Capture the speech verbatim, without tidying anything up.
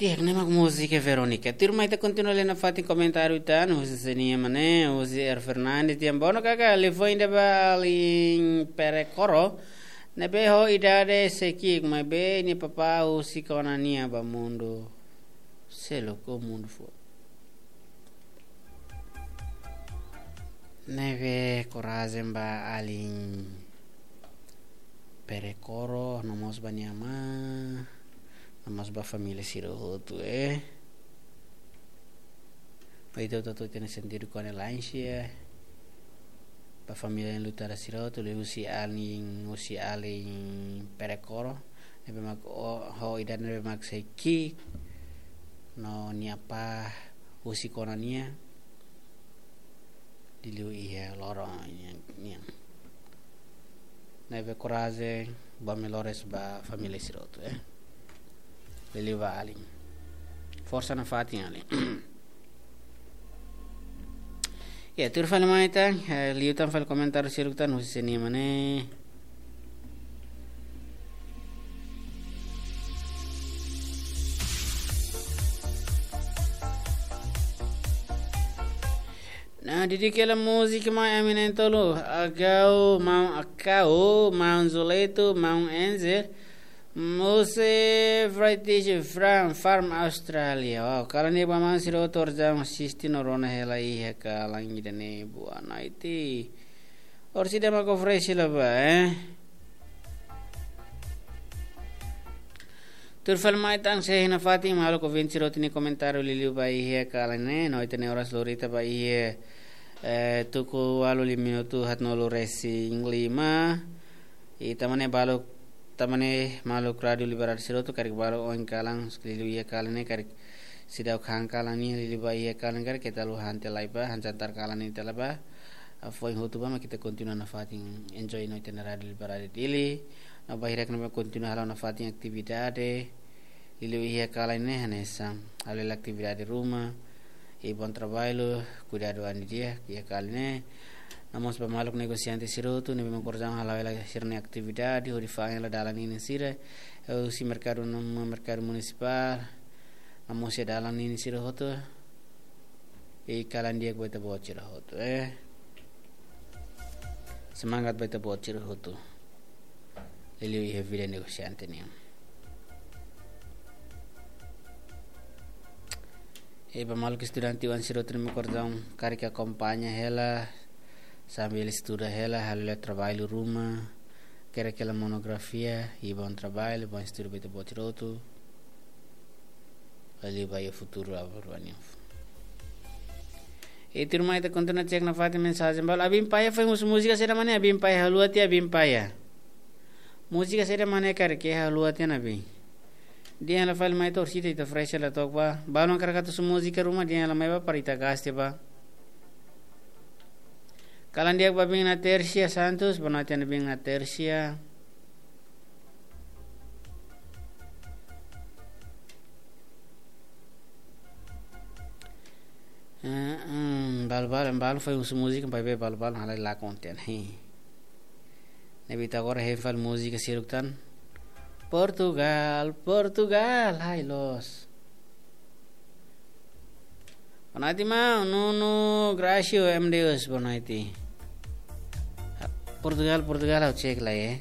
Di'ak, ne'e mak múzika Verónica. Tuirmai ita kontinua lee nafatin komentáriu tan, husi Senia Mane, husi Er Fernandes, tiam bono kaka, liafuan ida ba alin Perekoro, ne'ebé ho idade sei ki'ik, maibé nia papá husik ona nia ba mundu seluk, ou mundu foun. Ne'ebé korajen ba alin Perekoro, no mós ba nia amá, no mós ba família sira hotu, eh. Ba ita hotu-hotu ita-nia sentidu kondolénsia ba família lutáriu sira hotu, liuhusi alin, husi alin Perekoro, ne'ebé mak o, ho idade ne'ebé mak sei ki'ik, no nia apá husik ona nia, liuliu iha loron nian, nian. Ne'ebé korajen, boot liu loron ba família sira hotu, eh. Liuliu ba alin. Forsa nafatin alin. Ya, tuir fali mai tan, eh, liu tan fali komentáriu sira tan, husi Senia Mane. Nah, didik hela múzika mai ami na'in-tolu, Agau, Maun Akau, Maun Zuleito, Maun Enzer, Mose, Friday, Fran, Farm, Australia. Wow, kalan ne'e ba maun sira hotu orsida asiste no rona hela iha kalan ida-ne'e, boa noite. Orsida mak oferese hela ba, eh. Tuir fali mai tan, sei nafatin maluk ouvinte sira hotu nia komentáriu liuliu ba iha kalan ne'e, no ita-nia oras lorita ba iha, eh, tuku ualu lima minutu haatnulu-resin-lima. I tanba ne'e maluk, tanba ne'e maluk Rádiu Liberdade sira hotu karik balu oin kalan, liuliu iha kalan ne'e karik seidauk han kalan ne'e, liuliu ba iha kalan karik keta haluha han tiha lai ba, han jantar kalan ne'e tiha lai ba. Ah, foin hotu ba mak ita kontinua nafatin enjoy no ita-nia Rádiu Liberdade Dili. No ba hirak ne'ebé kontinua halo nafatin atividade, liuliu iha kalan ne'e hanesan halo hela atividade ruma, i bom trabalho, kuidadu an di'ak iha kalan ne'e. No mós ba maluk negosiante sira hotu ne'ebé mak orsida halo hela sira-nia atividade, hodi fa'an hela dalan ninin sira, eh, husi merkadu, no merkadu munisipál, no mós iha dalan ninin sira hotu. I kalan di'ak ba ita-boot sira hotu, eh. Semangat ba ita-boot sira hotu. Liuliu iha vida negosiante nian. I ba maluk estudante oan sira hotu ne'ebé mak orsida karik akompaña hela, sambil estuda hela, halo hela trabalho ruma, hakerek hela monografia, i bom trabalho, bom estudo ba ita-boot sira hotu. Liuliu ba iha futuru aban-bainrua nian. I tuirmai ita kontinua cek nafatin mensajen balu. Abim Paya foin husu múzika saida mak ne'e, Abim Paya, haluha tiha Abim Paya. Múzika saida mak ne'e karik haluha tiha ona, Abim? Dehan hela fali mai, orsida ita oferese hela took ba. Balu hakarak atu husu múzika ruma, dehan hela mai ba para ita gaste ba. Kalan di'ak ba Abim Natersia Santos, boa noite Abim Natersia. Eh, hum, balu-balu, balu foin husu múzika, maibé balu-balu halai lakon tiha ona. Ne'ebé ita agora hein fali múzika sira hotu tan. Portugal, Portugal, hai loos. Boa noite, maun Nuno Gracio, M D Us, boa noite. Portugal, Portugal, ha'u cek lai, eh.